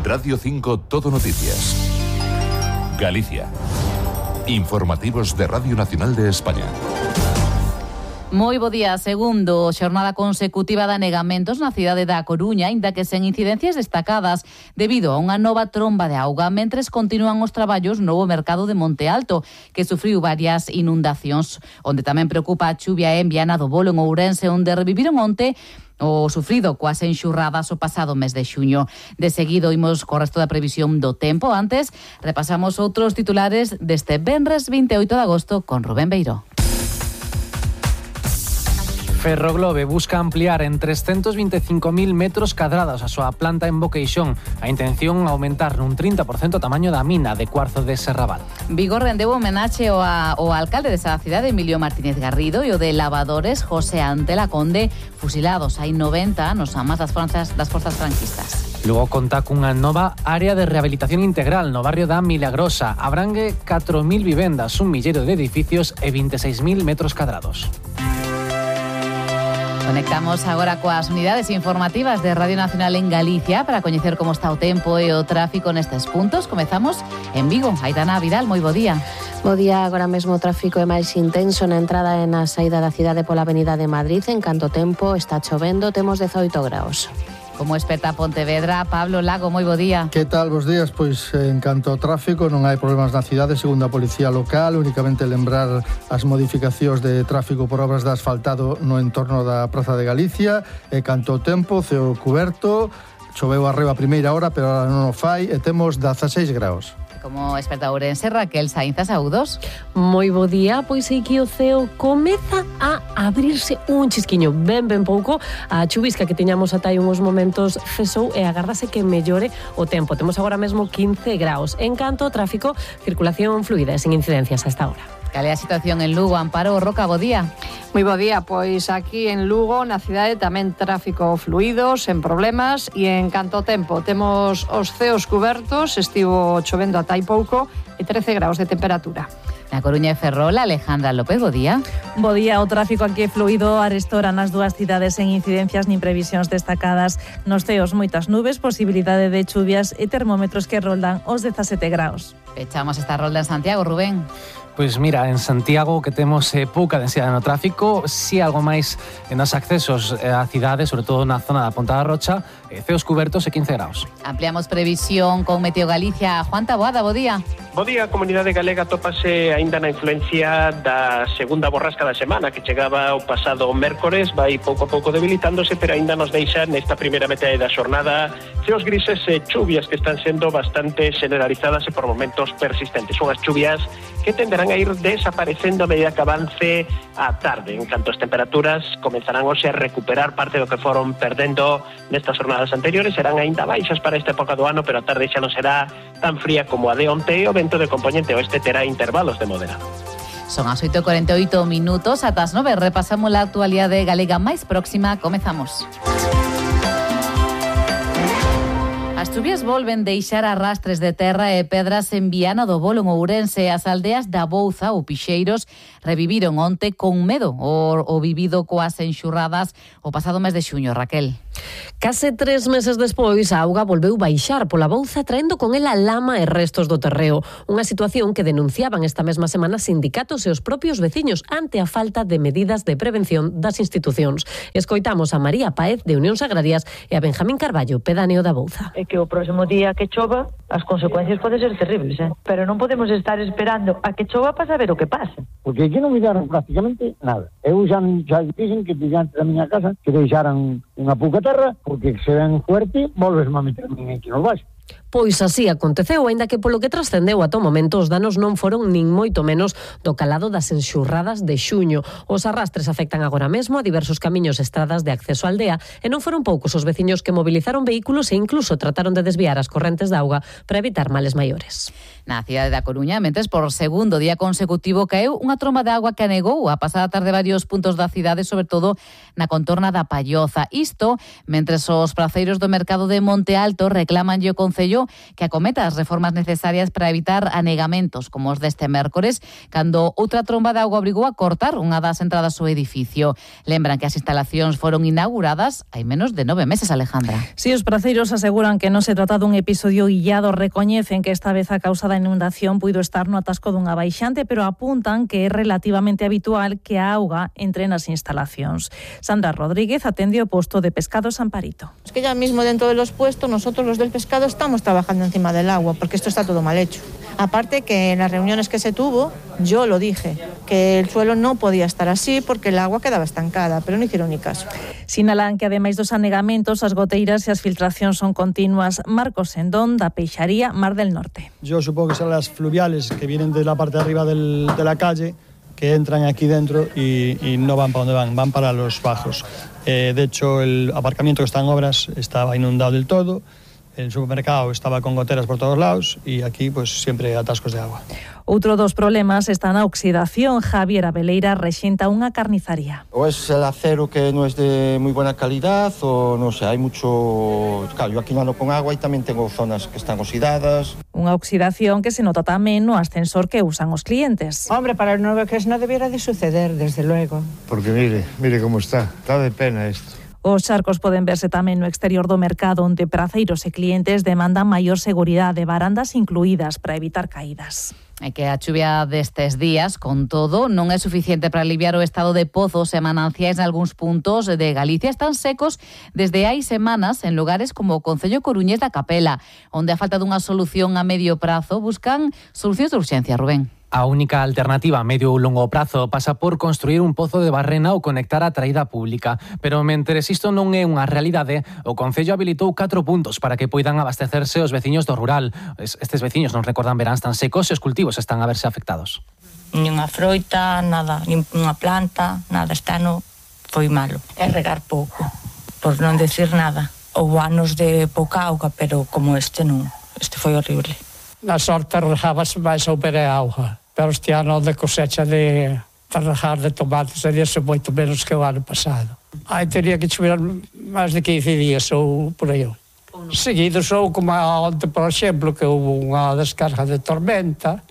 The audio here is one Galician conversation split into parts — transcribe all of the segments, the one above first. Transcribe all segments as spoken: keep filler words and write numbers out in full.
Radio cinco Todo Noticias. Galicia. Informativos de Radio Nacional de España. Moi bo día, segundo xornada consecutiva de anegamentos na cidade da Coruña, inda que sen incidencias destacadas debido a unha nova tromba de auga, mentres continúan os traballos no novo mercado de Monte Alto, que sufriu varias inundacións, onde tamén preocupa a chuvia en Viana do Bolo, en Ourense, onde reviviron onte o sufrido coas enxurradas o pasado mes de xuño. De seguido imos co resto da previsión do tempo. Antes, repasamos outros titulares deste venres vinte e oito de agosto con Rubén Beiró. Ferroglobe busca ampliar en trescentos vinte e cinco mil metros cadrados a súa planta en Boqueixón. A intención é aumentar nun trinta por cento o tamaño da mina de cuarzo de Serrabal. Vigo rendeu homenaxe ao, ao alcalde desa cidade, Emilio Martínez Garrido, e o de lavadores, José Antela Conde, fusilados hai noventa nos amas das forzas, das forzas franquistas. Lugo conta cunha nova área de rehabilitación integral no barrio da Milagrosa. Abrangue catro mil vivendas, un milleiro de edificios e vinte e seis mil metros cadrados. Conectamos agora coas unidades informativas de Radio Nacional en Galicia para coñecer como está o tempo e o tráfico nestes puntos. Comezamos en Vigo. Aitana Vidal, moi bo día. Bo día, agora mesmo o tráfico é máis intenso na entrada e na saída da cidade pola Avenida de Madrid. En canto tempo está chovendo, temos dezoito graus. Como experta Pontevedra, Pablo Lago, moi bo día. Que tal, bos días? Pois en canto ao tráfico non hai problemas na cidade, segundo a Policía Local, únicamente lembrar as modificacións de tráfico por obras de asfaltado no entorno da Praza de Galicia. E canto ao tempo, ceo cuberto, choveu arriba a primeira hora, pero ahora non o fai, e temos dezaseis graus. Como experta ourense, Raquel Sainz Saúdos. Moi bo día, pois aí que o ceo comeza a abrirse un chisquiño ben ben pouco. A chuvisca que tiñamos ata aí uns momentos cesou e agárdase que mellore o tempo. Temos agora mesmo quince graus. En canto ao tráfico, circulación fluida e sen incidencias a esta hora. Cal é a situación en Lugo? Amparo Roca, bo día. Moi bo día, pois aquí en Lugo, na cidade, tamén tráfico fluido, sen problemas, e en canto ao tempo, temos os ceos cubertos, estivo chovendo ata hai pouco, e trece graus de temperatura. Na Coruña e Ferrol, Alejandra López, bo día. Bo día, o tráfico aquí é fluido, arestora nas dúas cidades sen incidencias nin previsións destacadas. Nos ceos moitas nubes, posibilidade de chuvias e termómetros que roldan os dezasete graus. Pechamos esta rolda en Santiago, Rubén. Pois mira, en Santiago que temos eh, pouca densidade no tráfico, si algo máis nos accesos á cidade, sobre todo na zona da Ponta da Rocha, eh, ceos cubertos e quince graus. Ampliamos previsión con Meteo Galicia. Juan Taboada, bo día. Bo día, a comunidade galega tópase aínda na influencia da segunda borrasca da semana que chegaba o pasado mércores, vai pouco a pouco debilitándose, pero aínda nos deixa nesta primeira metade da xornada ceos grises e chuvias que están sendo bastante generalizadas e por momentos persistentes. Son as chuvias que tenderán a ir desaparecendo a medida que avance a tarde. En canto as temperaturas comenzarán hoxe a recuperar parte do que foron perdendo nestas jornadas anteriores, serán aínda baixas para esta época do ano, pero a tarde xa non será tan fría como a de onte e o vento de componente oeste terá intervalos de moderado. Son as oito e cuarenta e oito minutos, ata as nove repasamos a actualidade galega máis próxima. Comezamos. As chuvias volven deixar arrastres de terra e pedras en Viana do Bolo, en Ourense. As aldeas da Bouza ou Pixeiros reviviron onte con medo o, o vivido coas enxurradas o pasado mes de xuño, Raquel. Case tres meses despois, a auga volveu baixar pola Bouza, traendo con ela lama e restos do terreo. Unha situación que denunciaban esta mesma semana sindicatos e os propios veciños ante a falta de medidas de prevención das institucións. Escoitamos a María Páez, de Unións Agrarias, e a Benjamín Carballo, pedáneo da Bouza. É que o próximo día que chova, as consecuencias poden ser terribles, eh? Pero non podemos estar esperando a que chova para saber o que pasa. Porque aquí non miraron prácticamente nada. Eu xa, xa dixen que diante da miña casa que deixaran unha pouca terra, porque se ven fuerte, volves a meter aquí nos baixos. Pois así aconteceu, aínda que polo que trascendeu ata o momento os danos non foron nin moito menos do calado das enxurradas de xuño. Os arrastres afectan agora mesmo a diversos camiños e estradas de acceso á aldea e non foron poucos os veciños que movilizaron vehículos e incluso trataron de desviar as correntes de auga para evitar males maiores. Na cidade da Coruña, mentes por segundo día consecutivo caeu unha tromba de agua que anegou a pasada tarde varios puntos da cidade, sobre todo na contorna da Palloza. Isto, mentres os praceiros do mercado de Monte Alto reclamanlle o Concello Concello que acometa as reformas necesarias para evitar anegamentos como os deste mércores, cando outra tromba de auga obrigou a cortar unha das entradas ao edificio. Lembran que as instalacións foron inauguradas hai menos de nove meses, Alejandra. Si, os praceiros aseguran que non se trata dun episodio illado, recoñecen que esta vez a causa da inundación puido estar no atasco dunha baixante, pero apuntan que é relativamente habitual que a auga entre nas instalacións. Sandra Rodríguez atende o posto de pescado Samparito. Es que ya mismo dentro de los puestos nosotros los del pescado estamos trabajando encima del agua porque esto está todo mal hecho. Aparte que en las reuniones que se tuvo, yo lo dije, que el suelo no podía estar así porque el agua quedaba estancada, pero no hicieron ni caso. Sinalan que ademais dos anegamentos, as goteiras e as filtracións son continuas. Marcos Sendón, da Peixaría Mar del Norte. Yo supongo que son las fluviales que vienen de la parte de arriba del, de la calle, que entran aquí dentro y, y no van para donde van, van para los bajos. Eh, de hecho, el aparcamiento que está en obras estaba inundado del todo. El supermercado estaba con goteras por todos lados y aquí pues siempre atascos de agua. Outro dos problemas está na oxidación. Javier Abeleira rexenta unha carnizaría. O es el acero que no es de muy buena calidad o no sé, hay mucho... Claro, yo aquí no ando con agua y también tengo zonas que están oxidadas. Unha oxidación que se nota tamén no ascensor que usan os clientes. Hombre, para el nuevo que es no debiera de suceder, desde luego. Porque mire, mire cómo está, está de pena esto. Os charcos poden verse tamén no exterior do mercado, onde praceiros e clientes demandan maior seguridade, barandas incluídas para evitar caídas. É que a chuvia destes días, con todo, non é suficiente para aliviar o estado de pozos e mananciais nalgúns puntos de Galicia. Están secos desde hai semanas en lugares como o Concello Coruñés da Capela, onde a falta dunha solución a medio prazo buscan solucións de urxencia, Rubén. A única alternativa a medio ou longo prazo pasa por construir un pozo de barrena ou conectar a traída pública. Pero mentres isto non é unha realidade, o Concello habilitou catro puntos para que poidan abastecerse os veciños do rural. Estes veciños non recordan veráns tan secos e os cultivos están a verse afectados. Nin unha froita, nada, nin unha planta, nada. Este ano foi malo. É regar pouco, por non decir nada. Houve anos de pouca auga, pero como este non. Este foi horrible. Na sorte regábase máis ao ver a auga, pero este ano de cosecha de, de regar de tomates sería moito menos que o ano pasado. Aí teria que chover máis de quince días ou por aí. Seguidos ou como onte, por exemplo, que houve unha descarga de tormenta,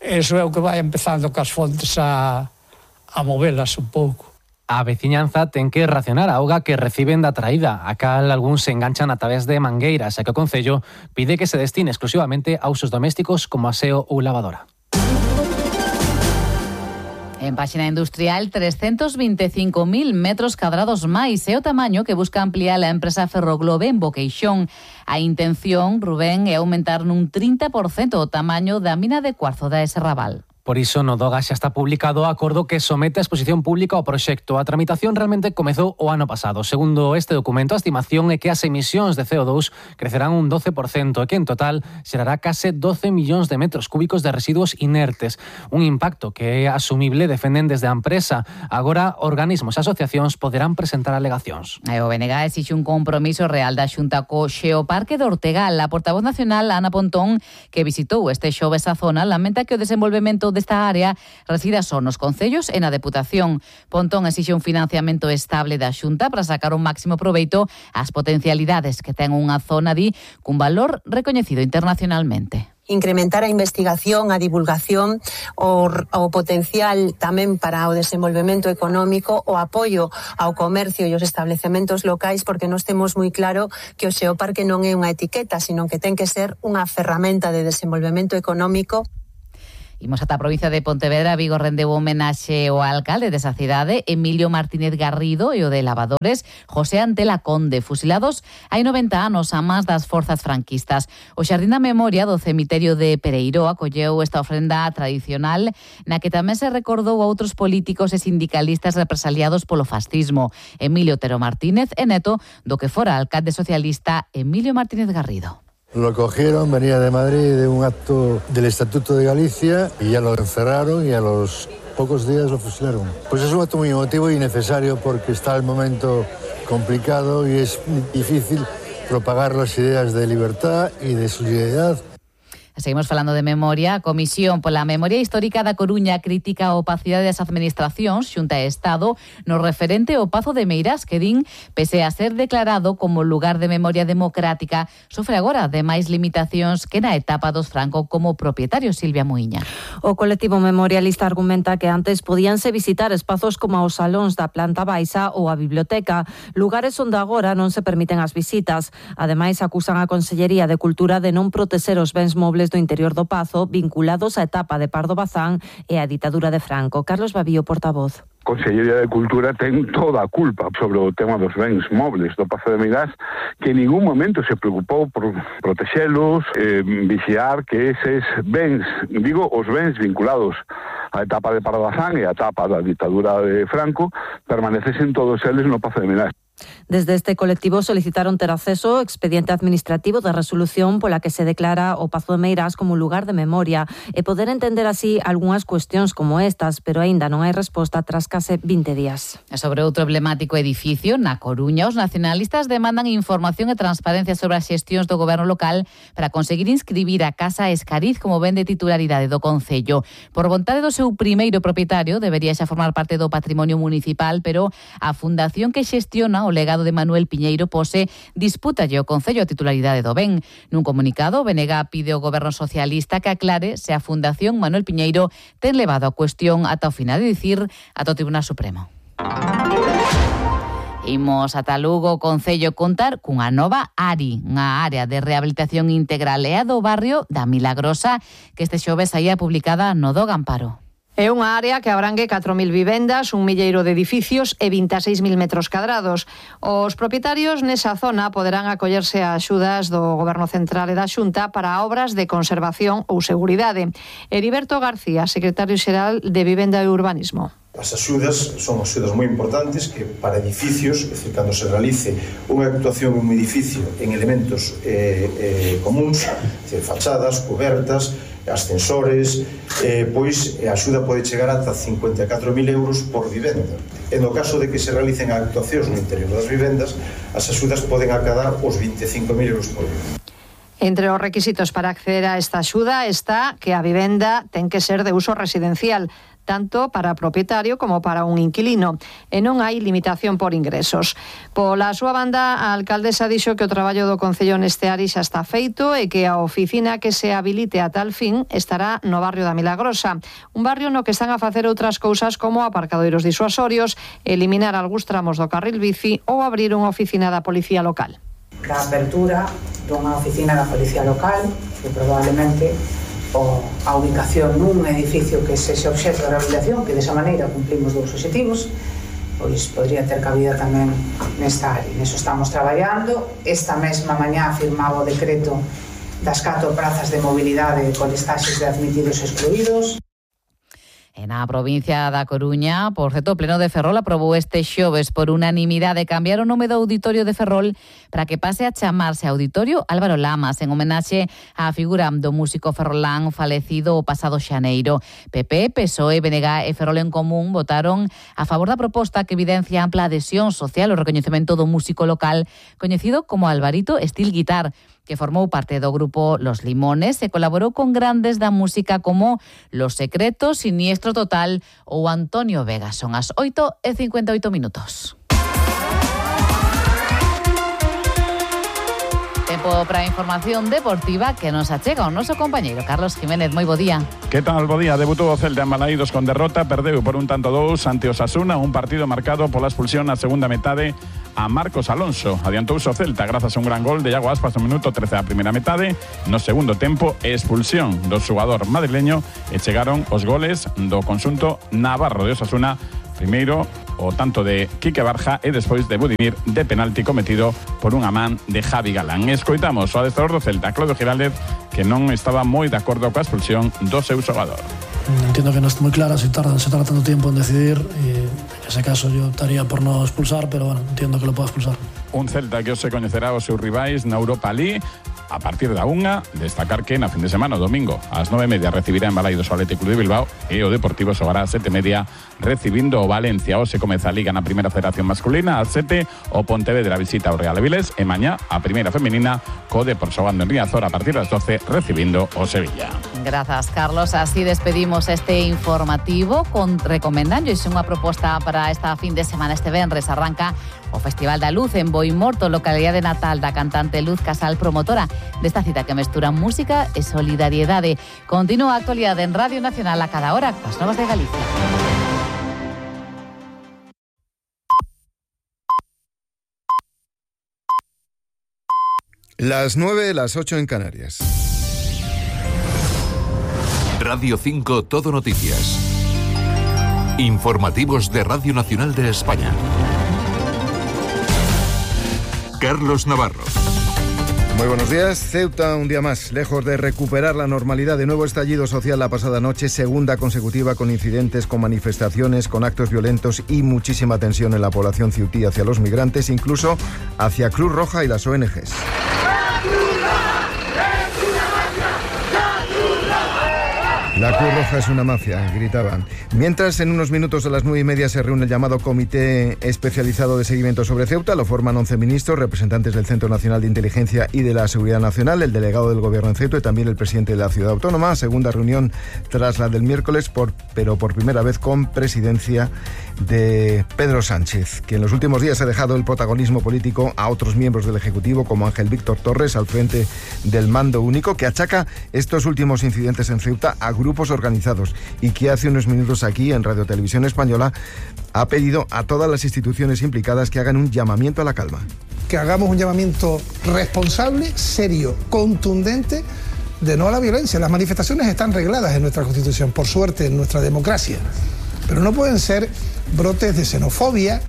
eso é o que vai empezando cas fontes a, a movelas un pouco. A veciñanza ten que racionar a auga que reciben da traída. A cal algúns se enganchan a través de mangueiras, e que o Concello pide que se destine exclusivamente a usos domésticos como aseo ou lavadora. En páxina industrial, trescentos vinte e cinco mil metros cadrados máis é o tamaño que busca ampliar a empresa Ferroglobe en Boqueixón. A intención, Rubén, é aumentar nun trinta por cento o tamaño da mina de cuarzo da Serrabal. Por iso, no Doga xa está publicado o acordo que somete a exposición pública ao proxecto. A tramitación realmente comezou o ano pasado. Segundo este documento, a estimación é que as emisións de C O dos crecerán un doce por cento e que en total xerará case doce millóns de metros cúbicos de residuos inertes. Un impacto que é asumible, defenden desde a empresa. Agora, organismos e asociacións poderán presentar alegacións. E o B N G exixe un compromiso real da Xunta co Xeoparque de Ortegal. A portavoz nacional, Ana Pontón, que visitou este xoves a zona, lamenta que o desenvolvemento desta área resida só nos concellos e na Deputación. Pontón exixe un financiamento estable da Xunta para sacar un máximo proveito ás potencialidades que ten unha zona, di, cun valor recoñecido internacionalmente. Incrementar a investigación, a divulgación, o, o potencial tamén para o desenvolvemento económico, o apoio ao comercio e os establecementos locais, porque nós temos moi claro que o Xeoparque non é unha etiqueta, sino que ten que ser unha ferramenta de desenvolvemento económico. Imos ata a provincia de Pontevedra. Vigo rendeu homenaxe ao alcalde desa cidade, Emilio Martínez Garrido, e o de Lavadores, José Antela Conde, fusilados hai noventa anos a más das forzas franquistas. O Xardín da Memoria do cemiterio de Pereiró acolleu esta ofrenda tradicional na que tamén se recordou a outros políticos e sindicalistas represaliados polo fascismo. Emilio Otero Martínez é neto do que fora alcalde socialista Emilio Martínez Garrido. Lo cogieron, venía de Madrid de un acto del Estatuto de Galicia y ya lo encerraron y a los pocos días lo fusilaron. Pues es un acto muy emotivo y necesario porque está el momento complicado y es difícil propagar las ideas de libertad y de solidaridad. Seguimos falando de memoria. A Comisión pola Memoria Histórica da Coruña critica a opacidade das administracións, Xunta e Estado, no referente ao Pazo de Meirás, que din, pese a ser declarado como lugar de memoria democrática, sofre agora de máis limitacións que na etapa dos Franco como propietario. Silvia Muiña. O colectivo memorialista argumenta que antes podíanse visitar espazos como os salóns da planta baixa ou a biblioteca, lugares onde agora non se permiten as visitas. Ademais, acusan a Consellería de Cultura de non protexer os bens mobles do interior do Pazo vinculados á etapa de Pardo Bazán e á ditadura de Franco. Carlos Babío, portavoz. Consellería de Cultura ten toda a culpa sobre o tema dos bens mobles do Pazo de Meirás, que en ningún momento se preocupou por protexelos, eh, vixiar que eses bens, digo, os bens vinculados á etapa de Pardo Bazán e á etapa da ditadura de Franco, permanecesen todos eles no Pazo de Meirás. Desde este colectivo solicitaron ter acceso ao expediente administrativo de resolución pola que se declara o Pazo de Meirás como lugar de memoria e poder entender así algunhas cuestións como estas, pero aínda non hai resposta tras case vinte días. Sobre outro emblemático edificio, na Coruña, os nacionalistas demandan información e transparencia sobre as xestións do goberno local para conseguir inscribir a Casa Escariz como ben de titularidade do Concello. Por vontade do seu primeiro propietario, debería xa formar parte do patrimonio municipal, pero a fundación que xestiona o legado de Manuel Piñeiro pose dispútalle o Concello a titularidade do ben. Nun comunicado, o B N G pide ao goberno socialista que aclare se a Fundación Manuel Piñeiro ten levado a cuestión ata o final de dicir ata o Tribunal Supremo. Imos ata Lugo, o Concello contar cunha nova A R I, unha área de rehabilitación integral e a do barrio da Milagrosa, que este xoves saía publicada no do Gamparo. É unha área que abrangue catro mil vivendas, un milleiro de edificios e vinte e seis mil metros cadrados. Os propietarios nesa zona poderán acollerse a axudas do Goberno Central e da Xunta para obras de conservación ou seguridade. Heriberto García, secretario xeral de Vivenda e Urbanismo. As axudas son axudas moi importantes que para edificios, é dicir, cando se realice unha actuación en un edificio en elementos eh, eh, comuns, é dicir, fachadas, cobertas, ascensores, eh, pois a axuda pode chegar ata cincuenta e catro mil euros por vivenda. E no caso de que se realicen actuacións no interior das vivendas, as axudas poden acadar os vinte e cinco mil euros por vivenda. Entre os requisitos para acceder a esta axuda está que a vivenda ten que ser de uso residencial, tanto para propietario como para un inquilino, e non hai limitación por ingresos. Pola súa banda, a alcaldesa dixo que o traballo do Concello neste área xa está feito e que a oficina que se habilite a tal fin estará no barrio da Milagrosa, un barrio no que están a facer outras cousas como aparcadoiros disuasorios, eliminar algúns tramos do carril bici ou abrir unha oficina da Policía Local. Da apertura dunha oficina da Policía Local, que probablemente o, a ubicación nun edificio que sexe obxecto de rehabilitación, que desa maneira cumplimos dous obxectivos, pois podría ter cabida tamén nesta área. Neso estamos traballando. Esta mesma mañá firmaba o decreto das catro prazas de mobilidade con listaxes de admitidos e excluídos. E na provincia da Coruña, por certo, o Pleno de Ferrol aprobou este xoves por unanimidade cambiar o nome do Auditorio de Ferrol para que pase a chamarse Auditorio Álvaro Lamas, en homenaxe á figura do músico ferrolán falecido o pasado xaneiro. P P, P S O E, B N G e Ferrol en Común votaron a favor da proposta que evidencia ampla adhesión social ao recoñecemento do músico local coñecido como Alvarito Steel Guitar, que formou parte do grupo Los Limones e colaborou con grandes da música como Los Secretos, Siniestro Total ou Antonio Vega. Son as oito e cincuenta e oito minutos. Tempo para a información deportiva que nos achega o noso compañeiro Carlos Jiménez. Moi bo día. Que tal, bo día? Debutou o Celta en Balaídos con derrota, perdeu por un tanto dous ante Osasuna, un partido marcado pola expulsión na segunda metade a Marcos Alonso. Adiantouse o Celta grazas a un gran gol de Iago Aspas no minuto trece da primeira metade. No segundo tempo, expulsión do xogador madrileño e chegaron os goles do conxunto navarro de Osasuna. Primeiro, o tanto de Quique Barja e despois de Budimir de penalti cometido por unha man de Javi Galán. Escoitamos o adestrador do Celta, Claudio Giraldez, que non estaba moi de acordo coa expulsión do seu xogador. Entiendo que non está moi clara se tarda, se tarda tanto tiempo en decidir e en ese caso yo estaría por no expulsar, pero bueno, entiendo que lo pueda expulsar. Un Celta que hoxe coñecerá os seus rivais na Europa League. a partir da unha. Destacar que na fin de semana, o domingo, ás nove e media recibirá en Balaidos o Atlético de Bilbao e o Deportivo xogará ás sete e media recibindo o Valencia. Hoxe comeza a Liga na Primeira Federación Masculina, ás sete o Pontevedra visita o Real Avilés e mañá a Primeira Femenina co Depor xogando en Riazor a partir das doce recibindo o Sevilla. Grazas, Carlos. Así despedimos este informativo con recomendando unha proposta para esta fin de semana. Este venres arranca o Festival da Luz en Boimorto, localidade natal da cantante Luz Casal, promotora desta cita que mestura música e solidariedade. Continúa a actualidade en Radio Nacional a cada hora coas novas de Galicia. Las nueve, las ocho en Canarias. Radio cinco Todo Noticias. Informativos de Radio Nacional de España. Carlos Navarro. Muy buenos días. Ceuta un día más, lejos de recuperar la normalidad. De nuevo estallido social la pasada noche, segunda consecutiva con incidentes, con manifestaciones, con actos violentos y muchísima tensión en la población ceutí hacia los migrantes, incluso hacia Cruz Roja y las O N Ges. La Cruz Roja es una mafia, gritaban. Mientras, en unos minutos a las nueve y media se reúne el llamado Comité Especializado de Seguimiento sobre Ceuta. Lo forman once ministros, representantes del Centro Nacional de Inteligencia y de la Seguridad Nacional, el delegado del Gobierno en Ceuta y también el presidente de la ciudad autónoma. Segunda reunión tras la del miércoles, por, pero por primera vez con presidencia de Pedro Sánchez, que en los últimos días ha dejado el protagonismo político a otros miembros del Ejecutivo, como Ángel Víctor Torres, al frente del mando único, que achaca estos últimos incidentes en Ceuta a grupos organizados y que hace unos minutos aquí en Radio Televisión Española ha pedido a todas las instituciones implicadas que hagan un llamamiento a la calma. Que hagamos un llamamiento responsable, serio, contundente, de no a la violencia. Las manifestaciones están regladas en nuestra Constitución, por suerte, en nuestra democracia, pero no pueden ser brotes de xenofobia.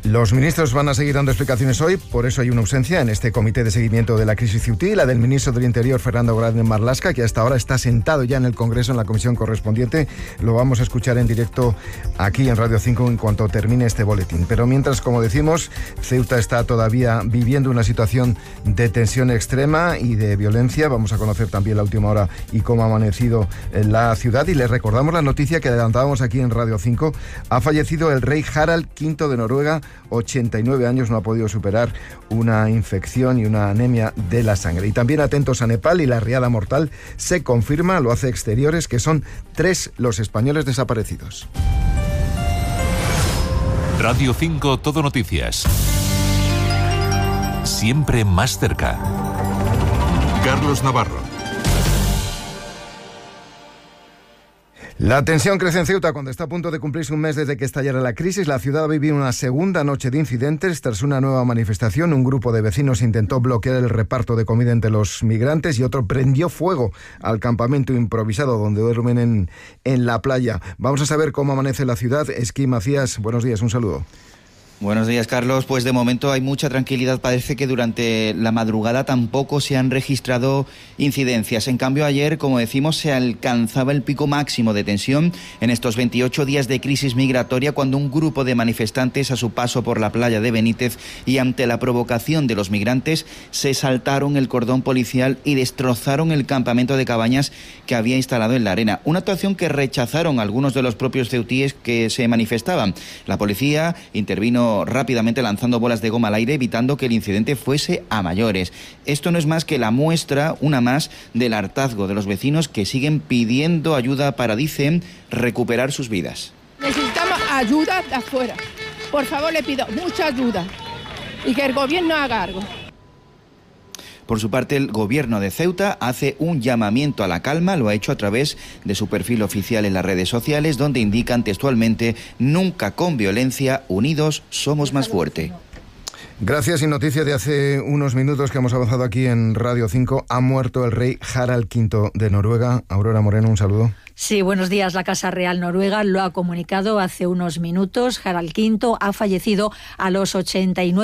Los ministros van a seguir dando explicaciones hoy, por eso hay una ausencia en este comité de seguimiento de la crisis ceutí, la del ministro del Interior, Fernando Grande Marlaska, que hasta ahora está sentado ya en el Congreso, en la comisión correspondiente. Lo vamos a escuchar en directo aquí en Radio cinco en cuanto termine este boletín. Pero mientras, como decimos, Ceuta está todavía viviendo una situación de tensión extrema y de violencia. Vamos a conocer también la última hora y cómo ha amanecido en la ciudad. Y les recordamos la noticia que adelantábamos aquí en Radio cinco. Ha fallecido el rey Harald quinto de Noruega, ochenta y nueve años, no ha podido superar una infección y una anemia de la sangre. Y también atentos a Nepal, y la riada mortal se confirma, lo hace Exteriores, que son tres los españoles desaparecidos. Radio cinco Todo Noticias. Siempre más cerca. Carlos Navarro. La tensión crece en Ceuta cuando está a punto de cumplirse un mes desde que estallara la crisis. La ciudad vivió una segunda noche de incidentes tras una nueva manifestación. Un grupo de vecinos intentó bloquear el reparto de comida entre los migrantes y otro prendió fuego al campamento improvisado donde duermen en, en la playa. Vamos a saber cómo amanece la ciudad. Esquí Macías, buenos días, un saludo. Buenos días, Carlos. Pues de momento hay mucha tranquilidad. Parece que durante la madrugada tampoco se han registrado incidencias. En cambio, ayer, como decimos, se alcanzaba el pico máximo de tensión en estos veintiocho días de crisis migratoria, cuando un grupo de manifestantes, a su paso por la playa de Benítez y ante la provocación de los migrantes, se saltaron el cordón policial y destrozaron el campamento de cabañas que había instalado en la arena. Una actuación que rechazaron algunos de los propios ceutíes que se manifestaban. La policía intervino rápidamente lanzando bolas de goma al aire, evitando que el incidente fuese a mayores. Esto no es más que la muestra, una más, del hartazgo de los vecinos que siguen pidiendo ayuda para, dicen, recuperar sus vidas. Necesitamos ayuda de afuera. Por favor, le pido mucha ayuda y que el gobierno haga algo. Por su parte, el gobierno de Ceuta hace un llamamiento a la calma, lo ha hecho a través de su perfil oficial en las redes sociales, donde indican textualmente: nunca con violencia, unidos somos más fuerte. Gracias. Y noticia de hace unos minutos que hemos avanzado aquí en Radio cinco, ha muerto el rey Harald quinto de Noruega. Aurora Moreno, un saludo. Sí, buenos días. La Casa Real Noruega lo ha comunicado hace unos minutos. Harald quinto ha fallecido a los ochenta y nueve